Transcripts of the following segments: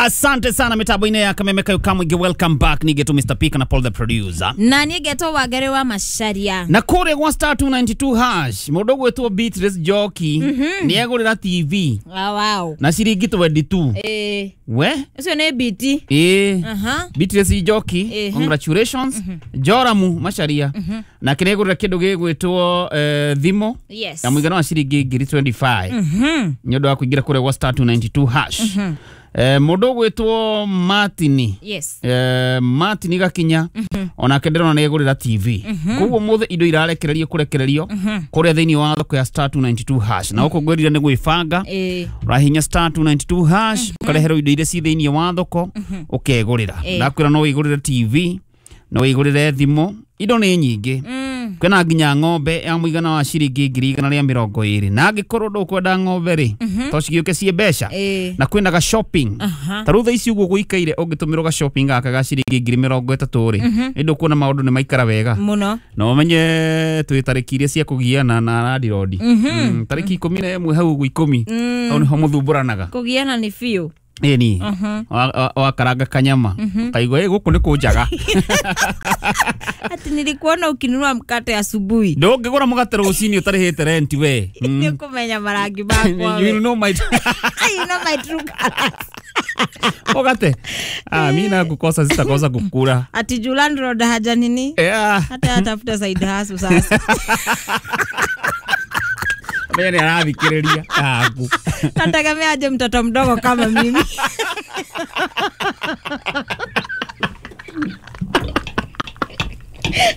Asante sana mitambo-inĩ ya Kameme Kayo Kamwingĩ. Welcome back nige to Mr. P na Paul the producer. Na niĩ ngetwo Wangari wa Macharia. Na kũrĩa gwa star 292 hash mũndũ ũgwĩtwo Beatrice Njoki nĩ egũrĩra TV Ah, wow. na ciringi 22. Eh, We ũcio nĩ biti. ĩĩ. Aha. Beatrice Njoki, congratulations. Joramu Macharia nake nĩ egũrĩra kĩndũ gĩgwĩtwo thimũ Yes. ya mũigana wa ciringi ngiri 25 nĩ ũndũ wa kũingĩra kũrĩa gwa star 292 hash. Mũndũ ũgwĩtwo Martini, Yes. Martin Gakinya onake ndĩrona nĩ egũrĩra TV. Koguo mũthĩ indo irarekererio kũrekererio kũrĩa thĩinĩ wa thoko ya star 292 hash, na gũkũ ngwĩrire nĩ gwĩbanga. Ũrahihinya star 292 hash, ũkareherwo indo iria ci thĩinĩ wa thoko ũkegũrĩra. Ndakwĩra no wĩgũrĩre TV, no wĩgũrĩre thimũ, indo nĩ nyingĩ. Kwĩna nginya ng'ombe ya mũigana wa ciringi 120,000, na angĩkorwo ndũkwenda ng'ombe rĩ, to cigĩũke ciĩ mbeca. Na kwĩna ga shopping. Ta rĩu thaa ici ũguo gũikaire, ũngĩtũmĩrwo ga shopping gaka ga ciringi 30,000 rĩ, nĩ ndũkuona maũndũ nĩ maikara wega. Mũno. Na ũmenye twĩ tarĩki iria cia kũgiana na landirondi, tarĩki 11 hau ũguo 10, hau nĩho mũthumbũranaga. Kũgiana nĩ biũ. Ĩni wakaranga kanyama kaigua ĩ gũkũ nĩ kũnjaga. Ati nilikuona ukinunua mkate asubuhi. Ndũngĩgũra mũgate rũcinĩ ũtarĩhĩte rent we. Nĩ ũkũmenya marangi makwa You we. know my You know my true colors. Mũgate, ah, mi na kukosa sitakosa kukula. Ati juu landlord haja nini? Yeah. Hata atafuta side hustle sasa. Menya nĩ arathikĩrĩria aku. Nategemea aje mtoto mdogo kama mimi.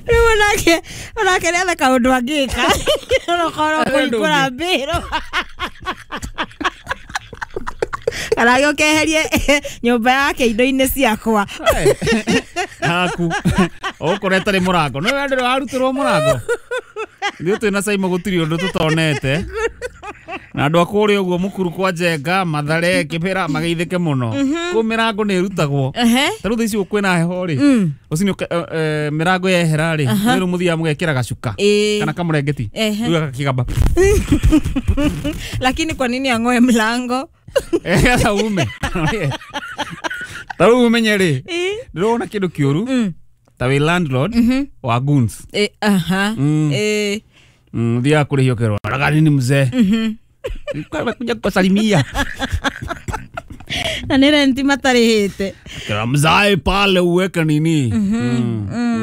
Rĩu onake nĩ etha kaũndũ angĩka onokorwo kũhingũra mbĩrũ kana gĩũkeherie nyũmba yake indo-inĩ ciakwa. Aku ũkũrĩa ĩtarĩ mũrango nĩ we ndĩrĩ warutĩrwo mũrango. Ithuĩ twĩna Saimo gũtirĩ ũndũ tũtonete, na andũ a kũrĩa ũguo mũkuru kwa Njenga, Mathare, Kĩbĩra mageithĩke mũno. Kũu mĩrango nĩ ĩrutagwo. Ta rĩu thaa ici kwĩna heho rĩ, rũcinĩ mĩrango yehera rĩ, rĩu mũthiaga mũgekĩra gacuka kana kamũrengeti, rĩu gakĩgamba. Lakini kwa nini ang'oe mlango? Getha ume ta rĩu ũmenye rĩ, ndĩrona kĩndũ kĩũru ta wĩ landlord wa goons. Aha. Thiaga kũrĩhio kerwo raga nini mzee kuja kusalimia. Na nĩ renti matarĩhĩte. Kera mzae pale uweke nini,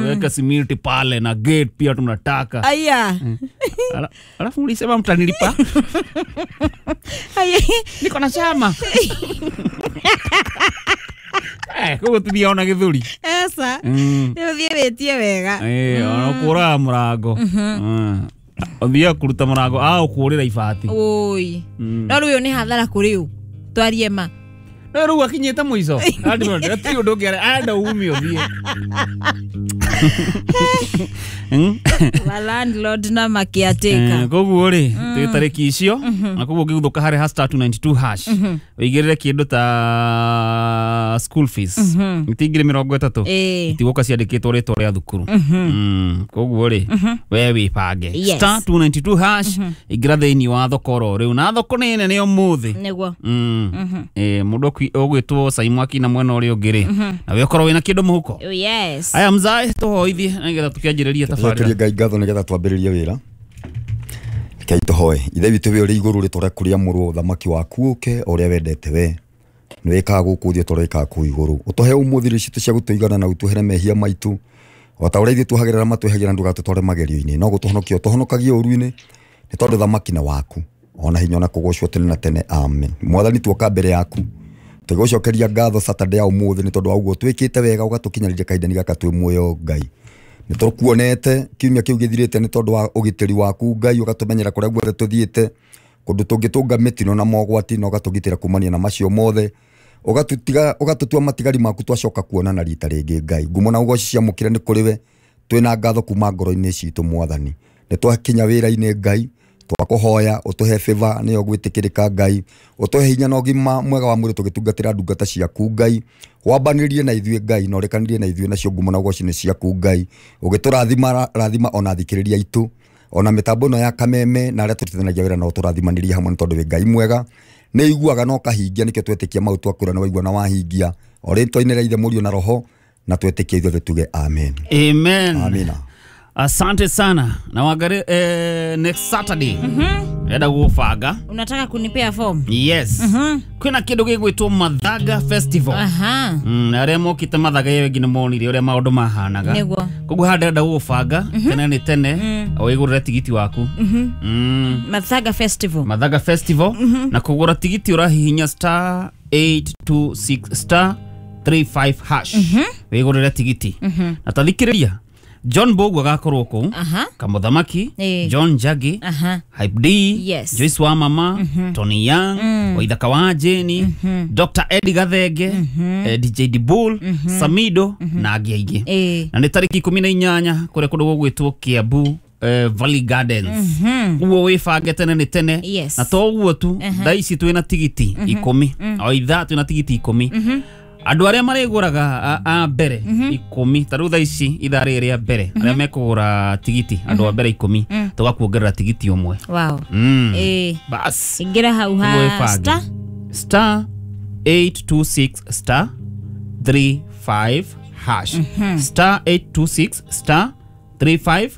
uweke simiti pale na gate pia tunataka. Aya. Alafu mlisema mtanilipa. Aya. Niko na chama. Koguo tũthiaga ona gĩthũri. Esa. Nĩ ũthiĩ wĩtie wega. Ona ũkũraga mũrango. Ũthiaga kũruta mũrango a ũkũrĩra ibati. Oi. No rĩu ũyũ nĩ hathara kũrĩ ũ twarie ma. No rĩu akinyĩte mũico. Hatirĩ ũndũ ũngĩ arenda ume ũthiĩ. Wa landlord na makiatĩka. Koguo rĩ, twĩ tarĩki icio, na koguo ũngĩguthũka harĩ ha star 292 hash ũigĩrĩre kĩndũ ta school fees ti 30,000 itigũka ciandĩkĩtwo rĩtwa rĩa thukuru. Koguo rĩ, we wĩbange. Yes. Star 292 hash, ingĩra thĩinĩ wa thoko oro rĩu, na thoko nĩ nene ũmũthĩ. Nĩguo. Mũndũ ũgwĩtwo Saimu akina mwena ũrĩa ũngĩ rĩ, na we ũkorwo wĩna kĩndũ mũhuko. Oh, yes. Aya mzae, tũhoithie nĩgetha tũkĩanjĩrĩria tabarĩra. Tũcokerie Ngai ngatho nĩgetha twambĩrĩrie wĩra. Rekei tũhoe. Ithe witũ wĩ ũrĩ igũrũ, rĩtwa rĩaku rĩamũrwo, ũthamaki waku ũke o ũrĩa wendete we. Nĩ wĩkaga gũkũ thĩ o ta ũrĩa wĩkaga kũu igũrũ. Ũtũhe ũmũthĩ irio citũ cia gũtũigana na ũtuohere mehia maitũ o ta ũrĩa ithuĩ tuohagĩra arĩa matwĩhagia, na ndũgatũtware magerio-inĩ, no gũtũhonokia ũtũhonokagie ũũru-inĩ, nĩ tondũ thamaki nĩ waku ona hinya ona kũgocwo tene na tene, amen. Mwathani, tuoka mbere yaku tũgũcokeria ngatho Saturday ya ũmũthĩ nĩ tondũ wa ũguo twĩkĩte wega ũgatũkinyanĩria kahinda-inĩ gaka twĩ muoyo. Ngai, nĩ tũkuonete kiumia kĩu gĩthirĩte nĩ tondũ wa ũgitĩri waku. Ngai, ũgatũmenyera kũrĩa guothe tũthiĩte, kũndũ tũngĩtũnga mĩtino na mogwati, na ũgatũgitĩra kumania na macio mothe, ũgatũtiga ũgatũtua matigari maku twacoka kuonana rita rĩngĩ. Ngai, ngumo na ũgoci ciamũkĩre nĩ kũrĩ we, twĩna ngatho kuma ngoro-inĩ citũ. Mwathani, nĩ twakinya wĩra-inĩ. Ngai, twakũhoya ũtũhe favor nĩyo gwĩtĩkĩrĩka. Ngai, ũtũhe hinya na ũgima mwega wa mwĩrĩ tũgĩtungatĩra ndungata ciaku. Ngai, wambanĩrie na ithuĩ, Ngai, na ũrekanĩrie na ithuĩ, nacio ngumo na ũgoci nĩ ciaku. Ngai, ũgĩtũrathima, rathima ona athikĩrĩria aitũ, ona mĩtambo ĩno ya Kameme na arĩa tũrutithanagia wĩra nao, tũrathimanĩrie hamwe nĩ tondũ wĩ Ngai mwega. Nĩ iguaga na ũkahingia nĩkĩo twetĩkia mau twakwĩra nĩ waigua na wahingia. O rĩtwa-inĩ rĩa Ithe, Mũriũ na Roho, na twetĩkia ithuothe tuge amen. Amen. Amina. Asante sana na wangari next Saturday enda gũbanga. Unataka kunipea form? Yes, kwĩna kĩndũ gĩgwĩtwo Mathaga Festival. Aha. Na arĩa mokĩte Mathaga ĩyo ĩngĩ nĩ monire ũrĩa maũndũ mahanaga. Nĩguo. Koguo haha ndĩrenda gũgũbanga tene nĩ tene wĩgũrĩre tigiti waku. Mathaga Festival. Mathaga Festival, na kũgũra tigiti ũrahihinya star 826 star 35 hash wĩgũrĩre tigiti. Na tathikĩrĩria, John Bogu agakorwo kũu, Aha. Kamũthamaki, Eh. John Njagi, Aha. Hype D, Yes. Joyce wa mama, Tony Young, Waithaka wa Jeni, Dr. Eddie Gathenge, DJ Dibul, Samido na angĩ aingĩ. Na nĩ tarĩki 18 kũrĩa kũndũ gũgwĩtwo Kiambu Valley Gardens. Ũguo wĩbange tene nĩ tene. Yes. Na to ũguo tu, thaa ici twĩna tigiti 10, o ithaa twĩna tigiti 10. Andũ arĩa marĩgũraga a mbere 10, ta rĩu thaa ici ithaa rĩrĩ rĩa mbere, arĩa mekũgũra tigiti andũ a mbere 10, tũgakuongerera tigiti ũmwe. Wow. Bas. Ingĩra hau ha Wĩbange. star Star 826 star 35 hash, star 826 star 35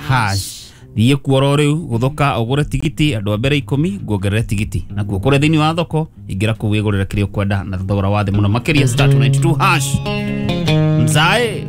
hash. Thiĩ kuo oro rĩu gũthoka ũgũre tigiti, andũ a mbere 10 nguongerere tigiti. Nakuo kũrĩa thĩinĩ wa thoko, ingĩra kũu wĩgũrĩre kĩrĩa ũkwenda na thogora wa thĩ mũno makĩria, star 292 hash. Mzae.